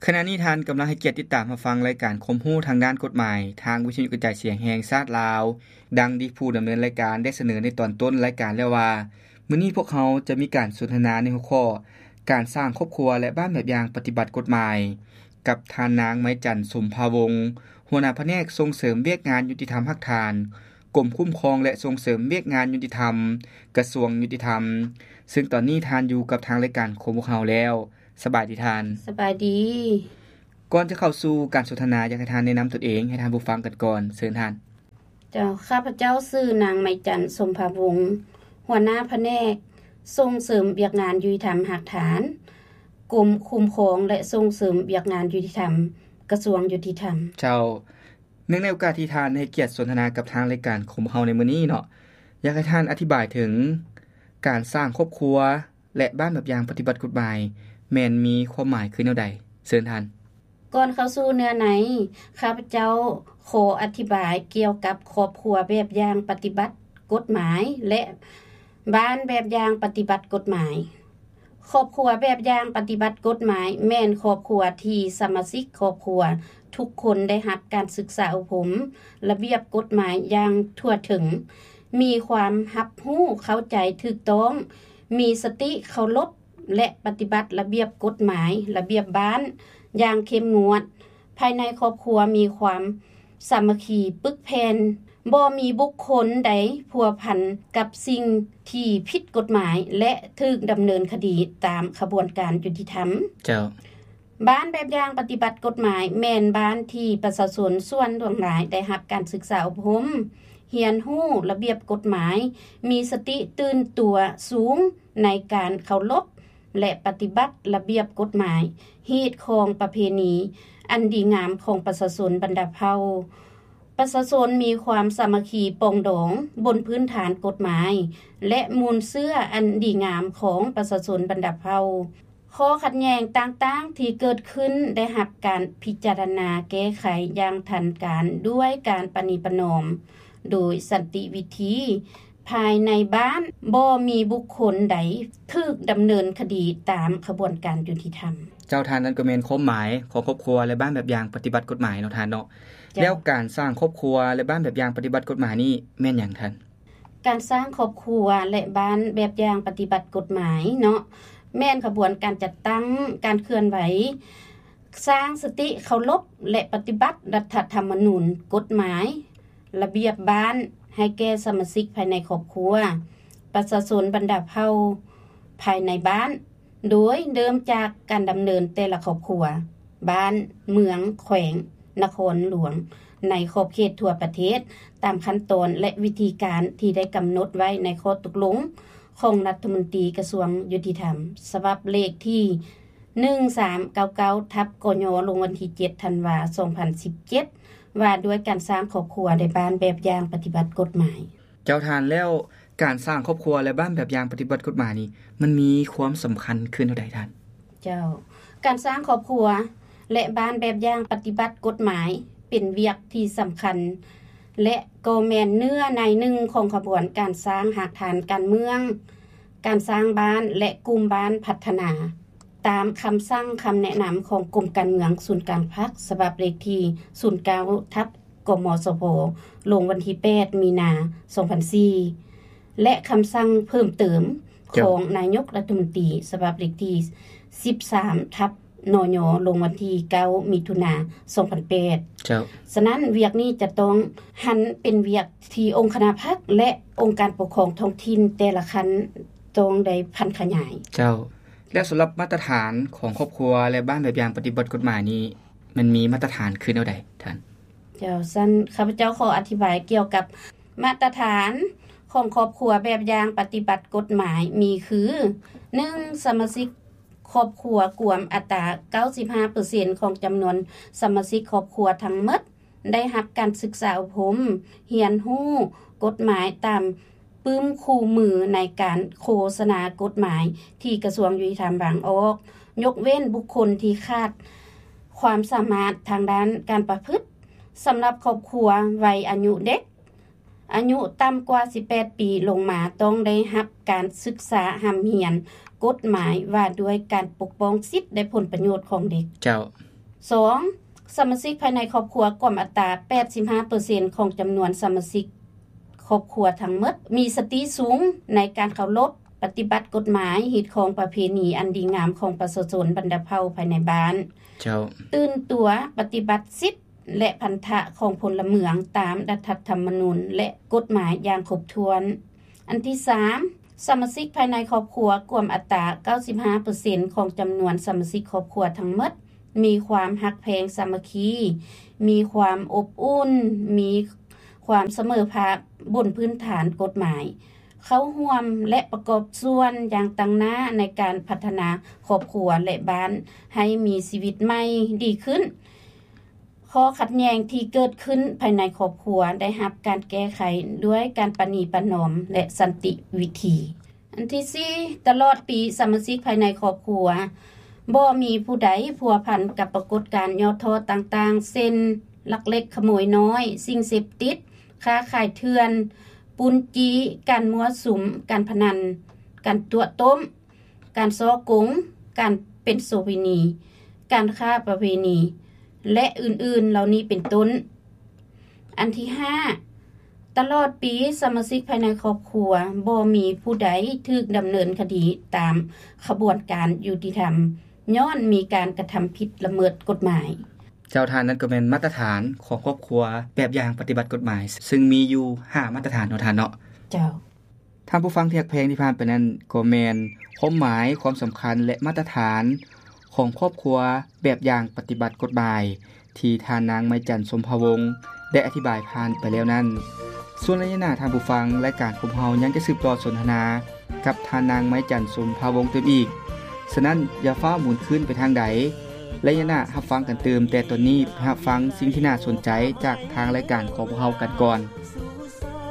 ຂະນະນີ້ທ່ານກຳລັງໃຫ້ກຽດຕິດຕາມຮັບຟັງລາຍການຄວາມຮູ້ທາງດ້ານກົດໝາຍ ທາງວິທະຍຸກະຈາຍສຽງແຫ່ງຊາດລາວ. ດັ່ງທີ່ຜູ້ດຳເນີນລາຍການໄດ້ສະເໜີໃນຕອນຕົ້ນລາຍການແລ້ວວ່າ, ມື້ນີ້ພວກເຮົາຈະມີການສົນທະນາໃນຫົວຂໍ້ ການສ້າງຄອບຄົວ ແລະ ບ້ານແບບຢ່າງປະຕິບັດກົດໝາຍ ກັບທ່ານນາງ ໄມຈັນ ສົມພາວົງ ຫົວໜ້າພະແນກສົ່ງເສີມວຽກງານຍຸຕິທຳຮາກຖານ ກົມຄຸ້ມຄອງ ແລະ ສົ່ງເສີມວຽກງານຍຸຕິທຳ ກະຊວງຍຸຕິທຳ, ເຊິ່ງຕອນນີ້ທ່ານຢູ່ກັບທາງລາຍການຂອງພວກເຮົາແລ້ວ. ສະບາຍດີທ່ານ. ສະບາຍດີ. ກ່ອນຈະເຂົ້າສູ່ການສົນທະນາ, ຢາກໃຫ້ທ່ານແນະນຳຕົນເອງໃຫ້ທ່ານຜູ້ຟັງກັນກ່ອນ. ເຊີນທ່ານ. ເຈົ້າ, ຂ້າພະເຈົ້າຊື່ນາງ ໄມຈັນ ສົມພາວົງ, ຫົວໜ້າພະແນກສົ່ງເສີມວຽກງານຍຸຕິທຳຮາກຖານ, ກົມຄຸ້ມຄອງ ແລະ ສົ່ງເສີມວຽກງານຍຸຕິທຳ, ກະຊວງຍຸຕິທຳ. ເຈົ້າ, ເນື່ອງໃນໂອກາດທີ່ທ່ານໃຫ້ກຽດສົນທະນາກັບທາງລາຍການຂອງພວກເຮົາໃນມື້ນີ້ເນາະ, ຢາກໃຫ້ທ່ານອະທິບາຍເຖິງການສ້າງຄອບຄົວ ແລະ ບ້ານແບບຢ່າງປະຕິບັດກົດໝາຍ ແມ່ນມີຄວາມໝາຍຄືແນວໃດ? ເຊີນທ່ານ. ກ່ອນເຂົ້າສູ່ເນື້ອໃນ, ຂ້າພະເຈົ້າຂໍອະທິບາຍກ່ຽວກັບຄອບຄົວແບບຢ່າງປະຕິບັດກົດໝາຍ ແລະ ບ້ານແບບຢ່າງປະຕິບັດກົດໝາຍ. ຄອບຄົວແບບຢ່າງປະຕິບັດກົດໝາຍ ແມ່ນຄອບຄົວທີ່ສະມາຊິກຄອບຄົວທຸກຄົນໄດ້ຮັບການສຶກສາອົບຮົມລະບຽບກົດໝາຍຢ່າງທົ່ວເຖິງ, ມີຄວາມຮັບຮູ້ເຂົ້າໃຈຖືກຕ້ອງ, ມີສະຕິເຄົາລົບ ແລະ ປະຕິບັດລະບຽບກົດໝາຍ, ລະບຽບບ້ານຢ່າງເຂັ້ມງວດ. ພາຍໃນຄອບຄົວມີຄວາມສາມັກຄີປຶກແຜ່ນ, ບໍ່ມີບຸກຄົນໃດພົວພັນກັບສິ່ງທີ່ຜິດກົດໝາຍ ແລະ ຖືກດຳເນີນຄະດີຕາມຂະບວນການຍຸຕິທຳ. ເຈົ້າ. ບ້ານແບບຢ່າງປະຕິບັດກົດໝາຍ ແມ່ນບ້ານທີ່ປະຊາຊົນສ່ວນຫຼວງຫຼາຍໄດ້ຮັບການສຶກສາອົບຮົມ, ຮຽນຮູ້ລະບຽບກົດໝາຍ, ມີສະຕິຕື່ນຕົວສູງໃນການເຄົາລົບ ແລະ ປະຕິບັດລະບຽບກົດໝາຍ, ຮີດຄອງປະເພນີອັນດີງາມຂອງປະຊາຊົນບັນດາເຜົ່າ. ປະຊາຊົນມີຄວາມສາມັກຄີປອງດອງບົນພື້ນຖານກົດໝາຍ ແລະ ມູນເຊື້ອອັນດີງາມຂອງປະຊາຊົນບັນດາເຜົ່າ. ຂໍ້ຂັດແຍ່ງຕ່າງໆທີ່ເກີດຂຶ້ນໄດ້ຮັບການພິຈາລະນາແກ້ໄຂຢ່າງທັນການດ້ວຍການປະນີປະນອມໂດຍສັນຕິວິທີ. ພາຍໃນບ້ານບໍ່ມີບຸກຄົນໃດຖືກດຳເນີນຄະດີຕາມຂະບວນການຍຸຕິທຳ. ເຈົ້າ, ທ່ານ, ນັ້ນກໍແມ່ນຄວາມໝາຍຂອງຄອບຄົວ ແລະ ບ້ານແບບຢ່າງປະຕິບັດກົດໝາຍເນາະທ່ານເນາະ. ເຈົ້າ. ແລ້ວການສ້າງຄອບຄົວ ແລະ ບ້ານແບບຢ່າງປະຕິບັດກົດໝາຍນີ້ແມ່ນຫຍັງທ່ານ? ການສ້າງຄອບຄົວ ແລະ ບ້ານແບບຢ່າງປະຕິບັດກົດໝາຍເນາະ ແມ່ນຂະບວນການຈັດຕັ້ງການເຄື່ອນໄຫວ ສ້າງສະຕິເຄົາລົບ ແລະ ປະຕິບັດລັດຖະທຳມະນູນ, ກົດໝາຍ, ລະບຽບບ້ານ ໃຫ້ແກ່ສະມາຊິກພາຍໃນຄອບຄົວ, ປະຊາຊົນບັນດາເຜົ່າພາຍໃນບ້ານ, ໂດຍເລີ່ມຈາກການດຳເນີນແຕ່ລະຄອບຄົວ, ບ້ານ, ເມືອງ, ແຂວງ, ນະຄອນຫຼວງ ໃນຂອບເຂດທົ່ວປະເທດ ຕາມຂັ້ນຕອນ ແລະ ວິທີການທີ່ໄດ້ກຳນົດໄວ້ໃນຂໍ້ຕົກລົງຂອງລັດຖະມົນຕີກະຊວງຍຸຕິທຳ ສະບັບເລກທີ ໜຶ່ງສາມເກົ້າເກົ້າ ທັບ ກຍ ລົງວັນທີ ເຈັດ ທັນວາ ສອງພັນສິບເຈັດ ວ່າດ້ວຍການສ້າງຄອບຄົວ ແລະ ບ້ານແບບຢ່າງປະຕິບັດກົດໝາຍ. ເຈົ້າທ່ານ, ແລ້ວການສ້າງຄອບຄົວ ແລະ ບ້ານແບບຢ່າງປະຕິບັດກົດໝາຍນີ້ ມັນມີຄວາມສຳຄັນຄືແນວໃດທ່ານ? ເຈົ້າ, ການສ້າງຄອບຄົວ ແລະ ບ້ານແບບຢ່າງປະຕິບັດກົດໝາຍ ເປັນວຽກທີ່ສຳຄັນ ແລະ ກໍແມ່ນເນື້ອໃນໜຶ່ງຂອງຂະບວນການສ້າງຮາກຖານການເມືອງ, ການສ້າງບ້ານ ແລະ ກຸ່ມບ້ານພັດທະນາ ຕາມຄຳສັ່ງຄຳແນະນຳຂອງກົມການເມືອງສູນກາງພັກ ສະບັບເລກທີ ສູນເກົ້າ ທັບ ກມສພ ລົງວັນທີ ແປດ ມີນາ ສອງພັນສີ່ ແລະ ຄຳສັ່ງເພີ່ມເຕີມ ເຈົ້າ ຂອງນາຍົກລັດຖະມົນຕີ ສະບັບເລກທີ ສິບສາມ ທັບ ນຍ ລົງວັນທີ ເກົ້າ ມິຖຸນາ ສອງພັນແປດ. ເຈົ້າ. ສະນັ້ນ ວຽກນີ້ຈະຕ້ອງຫັນເປັນວຽກທີ່ອົງຄະນະພັກ ແລະ ອົງການປົກຄອງທ້ອງຖິ່ນແຕ່ລະຂັ້ນຕ້ອງໄດ້ຜັນຂະຫຍາຍ. ເຈົ້າ. ແລ້ວສຳລັບມາດຕະຖານຂອງຄອບຄົວ ແລະ ບ້ານແບບຢ່າງປະຕິບັດກົດໝາຍນີ້ ມັນມີມາດຕະຖານຄືແນວໃດທ່ານ? ເຈົ້າ, ຊັ້ນຂ້າພະເຈົ້າຂໍອະທິບາຍກ່ຽວກັບມາດຕະຖານຂອງຄອບຄົວແບບຢ່າງປະຕິບັດກົດໝາຍມີຄື ໜຶ່ງ ສະມາຊິກຄອບຄົວກວມອັດຕາ ເກົ້າສິບຫ້າເປີເຊັນ ຂອງຈຳນວນສະມາຊິກຄອບຄົວທັງໝົດ ໄດ້ຮັບການສຶກສາອົບຮົມ, ຮຽນຮູ້ກົດໝາຍຕາມປຶ້ມຄູ່ມືໃນການໂຄສະນາກົດໝາຍທີ່ກະຊວງຍຸຕິທຳວາງອອກ, ຍົກເວັ້ນບຸກຄົນທີ່ຂາດຄວາມສາມາດທາງດ້ານການປະພຶດ. ສຳລັບຄອບຄົວໄວອາຍຸເດັກ, ອາຍຸຕ່ຳກວ່າສິບແປດປີລົງມາ ຕ້ອງໄດ້ຮັບການສຶກສາຮ່ຳຮຽນກົດໝາຍວ່າດ້ວຍການປົກປ້ອງສິດ ແລະ ຜົນປະໂຫຍດຂອງເດັກ. ເຈົ້າ. ສອງ, ສະມາຊິກພາຍໃນຄອບຄົວກວມອັດຕາ ແປດສິບຫ້າເປີເຊັນ ຂອງຈຳນວນສະມາຊິກຄອບຄົວທັງໝົດ ມີສະຕິສູງໃນການເຄົາລົບປະຕິບັດກົດໝາຍ, ຮີດຄອງປະເພນີອັນດີງາມຂອງປະຊາຊົນບັນດາເຜົ່າພາຍໃນບ້ານ. ເຈົ້າ. ຕື່ນຕົວປະຕິບັດສິດ ແລະ ພັນທະຂອງພົນລະເມືອງຕາມລັດຖະທຳມະນູນ ແລະ ກົດໝາຍຢ່າງຄົບຖ້ວນ. ອັນທີສາມ, ສະມາຊິກພາຍໃນຄອບຄົວກວມອັດຕາ ເກົ້າສິບຫ້າເປີເຊັນ ຂອງຈຳນວນສະມາຊິກຄອບຄົວທັງໝົດ ມີຄວາມຮັກແພງສາມັກຄີ, ມີຄວາມອົບອຸ່ນ, ມີຄວາມສະເໝີພາບບົນພື້ນຖານກົດໝາຍ, ເຂົ້າຮ່ວມ ແລະ ປະກອບສ່ວນຢ່າງຕັ້ງໜ້າໃນການພັດທະນາຄອບຄົວ ແລະ ບ້ານໃຫ້ມີຊີວິດໃໝ່ດີຂຶ້ນ. ຂໍ້ຂັດແຍ່ງທີ່ເກີດຂຶ້ນພາຍໃນຄອບຄົວໄດ້ຮັບການແກ້ໄຂດ້ວຍການປະນີປະນອມ ແລະ ສັນຕິວິທີ. ອັນທີສີ່, ຕະຫຼອດປີສະມາຊິກພາຍໃນຄອບຄົວບໍ່ມີຜູ້ໃດພົວພັນກັບປາກົດການຫຍໍ້ທໍ້ຕ່າງໆ ເຊັ່ນ ລັກເລັກຂະໂມຍນ້ອຍ, ສິ່ງເສບຕິດ, ຄ້າຂາຍເຖື່ອນ, ປຸ້ນຈີ້, ການມົ້ວສຸມ, ການພະນັນ, ການຕົວະຕົ້ມ, ການສໍ້ໂກງ, ການເປັນໂສເພນີ, ການຄ້າປະເວນີ ແລະ ອື່ນໆເຫຼົ່ານີ້ເປັນຕົ້ນ. ອັນທີຫ້າ, ຕະຫຼອດປີສະມາຊິກພາຍໃນຄອບຄົວບໍ່ມີຜູ້ໃດຖືກດຳເນີນຄະດີຕາມຂະບວນການຍຸຕິທຳ ຍ້ອນມີການກະທຳຜິດລະເມີດກົດໝາຍ. ເຈົ້າ. ທ່ານ, ນັ້ນກໍແມ່ນມາດຕະຖານຂອງຄອບຄົວແບບຢ່າງປະຕິບັດກົດໝາຍ ຊຶ່ງມີຢູ່ຫ້າມາດຕະຖານເນາະທ່ານເນາະ. ເຈົ້າ. ທ່ານຜູ້ຟັງທີ່ຮັກແພງ, ທີ່ຜ່ານໄປນັ້ນກໍແມ່ນຄວາມໝາຍ, ຄວາມສຳຄັນ ແລະ ມາດຕະຖານຂອງຄອບຄົວແບບຢ່າງປະຕິບັດກົດໝາຍ ທີ່ທ່ານນາງໄມຈັນ ສົມພາວົງ ໄດ້ອະທິບາຍຜ່ານໄປແລ້ວນັ້ນ. ສ່ວນໄລຍະໜ້າ, ທ່ານຜູ້ຟັງ, ລາຍການຂອງເຮົາຍັງຈະສືບຕໍ່ສົນທະນາກັບທ່ານນາງໄມຈັນ ສົມພາວົງຕື່ມອີກ. ສະນັ້ນ, ຢ່າຟ້າວໝູນຄືນໄປທາງໃດ. ໄລຍະໜ້າຮັບຟັງກັນຕື່ມ, ແຕ່ຕອນນີ້ໄປຮັບຟັງສິ່ງທີ່ໜ້າສົນໃຈຈາກທາງລາຍການຂອງພວກເຮົາກັນກ່ອນ.